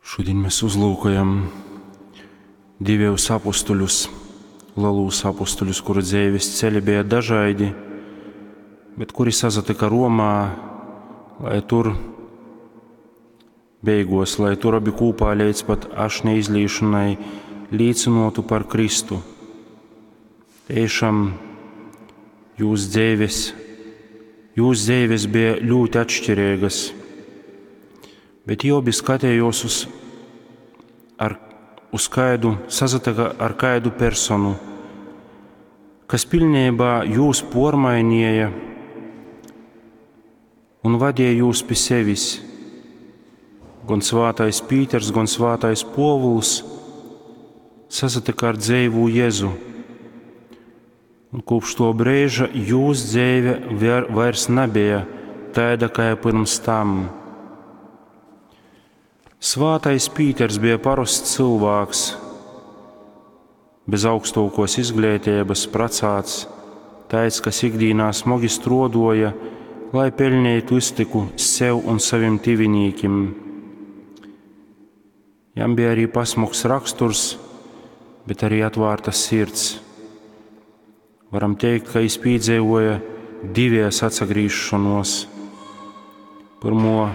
Šudiņ mes uzlūkojam divejus apustuļus, lelūs apustuļus, kuru dzeives ceļi beja dažaidi, bet kuri sasatyka Romā, lai tur beigos, lai tur abi kūpā leidz pat ašņa izlīšanai līcynotu par Kristu. Tiešām jūs dzeives bija ļoti atšķirīgas, bet jie obi skatējos uz, ar, uz kaidu, sasatyka ar kaidu personu, kas pilnībā jūs pormainīja un vadīja jūs pie sevis. Gan svātais Pīters, gan svātais Povuls sasatyka ar dzeivu Jēzu. Un kopš to brīža jūs dzeive vairs nebija tāda, kā pirms tam. Svātais Pīters bija parasts cilvēks, bez augstākos izglītības, pracāts, tāds, kas ikdienā smagi strodoja, lai pelnītu iztiku sev un saviem tivinīkim. Jam bija arī pasmuks raksturs, bet arī atvērta sirds. Varam teikt, ka viņš piedzīvoja divies atsagriešanos. Pirmo,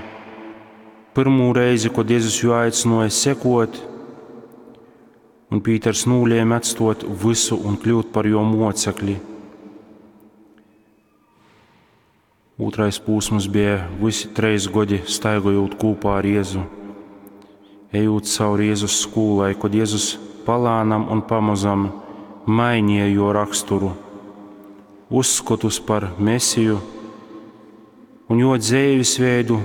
pirmo reizi, kad Jēzus jū aicināja sekot, un Pīters nolēma atstot visu un kļūt par jo mocekli. Otrais posms bija visi treis gadi staigājot kopā ar Jēzu, ejot cauri Jēzus skolai, kad Jēzus palānam un pamazam mainīja jo raksturu, uzskatus par Mesiju un jo dzīvesveidu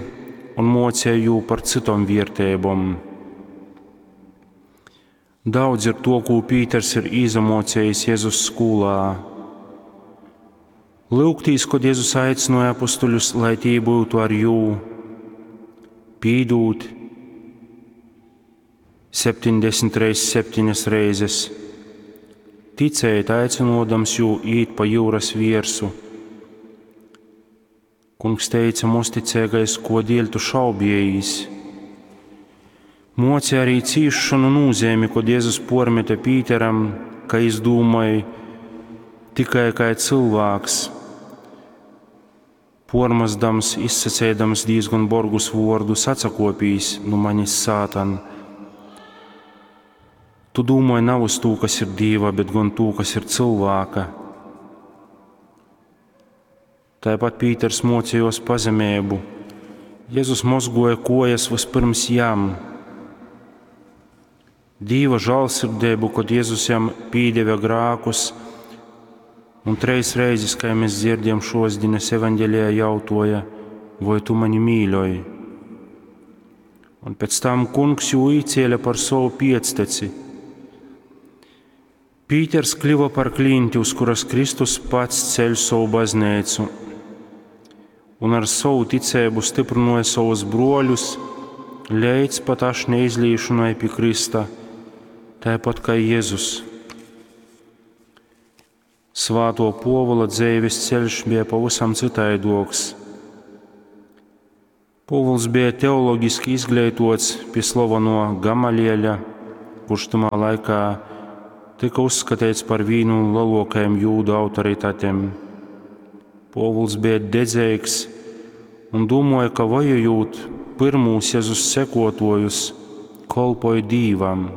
un mocīja jū par citom vērtībām. Daudz ir to, ko Pīters ir izamocījis Jēzus skolā. Lūgtīs, kad Jēzus aicināja apustuļus, lai tī būtu ar jū, pīdūt 70 reiz 7 reizes, ticēt aicinodams jū īt pa jūras viersu. Kungs teica, mosticīgais, ko dēļ tu šaubiejīs. Mocīja arī cīšanu nozīmi, kad Jēzus pormeta Pīteram, ka izdūmai tikai kā cilvēks, pormazdams, izsacēdams diezgan borgus vārdus, atsakopīs nu manis sātan. Tu domāji nav uz to, kas ir Dieva, bet gan to, kas ir cilvēka. Tāpat Pīters mocījos pazemību. Jēzus mozgoja kojas vispirms jam. Dīva žālsirdību, kad Jēzus jam pīdeva grākus, un treis reizes, kā mēs dzirdam šodienas evaņģēlijā, jautoja, vai tu mani mīļoji? Un pēc tam kungs jū īcēla par savu piecteci. Pīters kļuva par klinti, uz kuras Kristus pats ceļ savu baznīcu, un ar savu ticību stiprināja savus broļus, līdz pat ašņa izlīšanai pie Krista, tāpat kā Jēzus. Svāto Povola dzīves ceļš bija pavisam citaidoks. Povuls bija teoloģiski izglītots pie slaveno Gamalieļa, kurš tamā laikā tika uzskatīts par vienu no lielākajiem jūdu autoritātēm. Povuls bija dedzīgs un domāja, ka vajojot pirmūs Jēzus sekotojus, kolpoja Dīvam.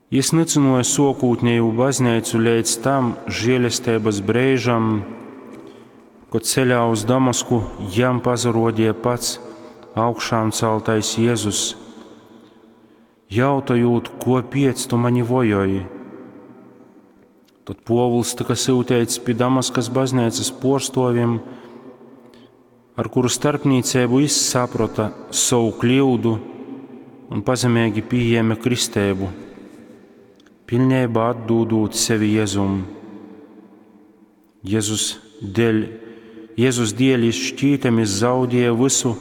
Jis nicinoja sokūtnēju baznīcu līdz tam žēlestības brīžam, kad ceļā uz Damasku jam pazarodīja pats augšām celtais Jēzus, jautojot, ko piec tu mani vojoji. Tad Povuls tika sūtīts pie Damaskas baznīcas porstoviem, ar kuru starpniecību jis saprata savu kļūdu un pazemīgi pieņēma kristēbu, pilnībā atdūdot sevi Jēzum. Jēzus dēļ, Jēzus dēļ jis šķītami zaudēja visu,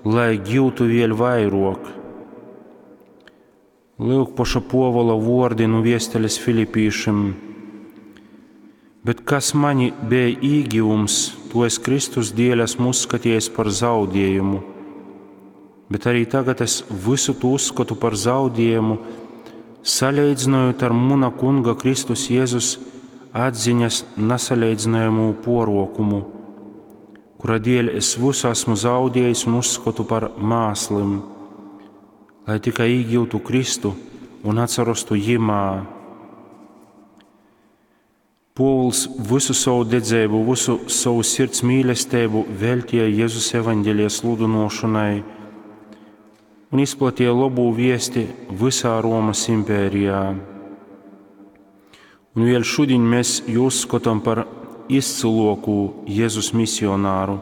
lai gūtu vēl vairāk. Lūk paša Povola vārdi nu viesteles Filipīšiem. Bet kas mani bija īgivums, to es Kristus dēļ esmu uzskatījies par zaudējumu. Bet arī tagad es visu to uzskatu par zaudējumu, saleidzynojot ar muna Kunga Kristus Jēzus atziņas nasaleidzynojamū porokumu, kura dēļ es visu esmu zaudējis un uzskatu par māslim, lai tikai īgūtu Kristu un atsarostu Jimā. Pōvuls visu savu dedzību, visu savu sirds mīlestību veltīja Jēzus evaņģēlija sludinošanai un izplatīja labu viesti visā Romas impērijā. Un vēl šodien mēs jū uzskatām par izcilāko Jēzus misionāru.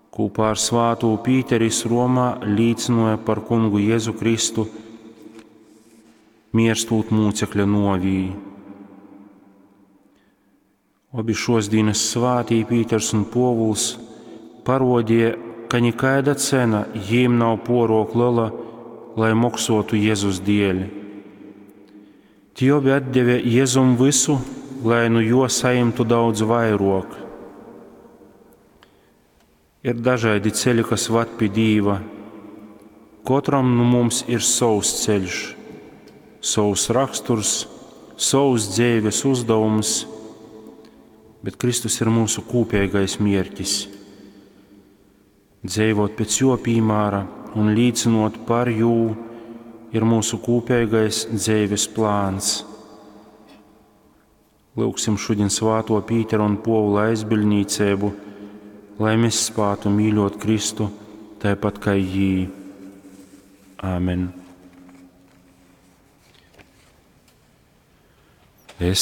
Kopā ar svāto Pīteris Romā līcināja par kungu Jēzu Kristu, mierstot mūcekļa novī. Obi šos dienas svātī Pīters un Povuls parodīja, ka nikaida cena jīm nav porok liela, lai moksotu Jēzus dēļ. Tie obi atdeva Jēzum visu, lai nu jo saimtu daudz vairāk. Ir dažādi ceļi, kas vad pie Dīva. Katram nu mums ir savs ceļš, savs raksturs, savs dzīves uzdevums, bet Kristus ir mūsu kopīgais mērķis. Dzīvot pēc jo piemēra un līdzinot par jū ir mūsu kopīgais dzīves plāns. Lūksim šodien svāto Pīteru un Povula aizbiļnīcību, lai mēs spātu mīļot Kristu tāpat kā jī. Āmen. Es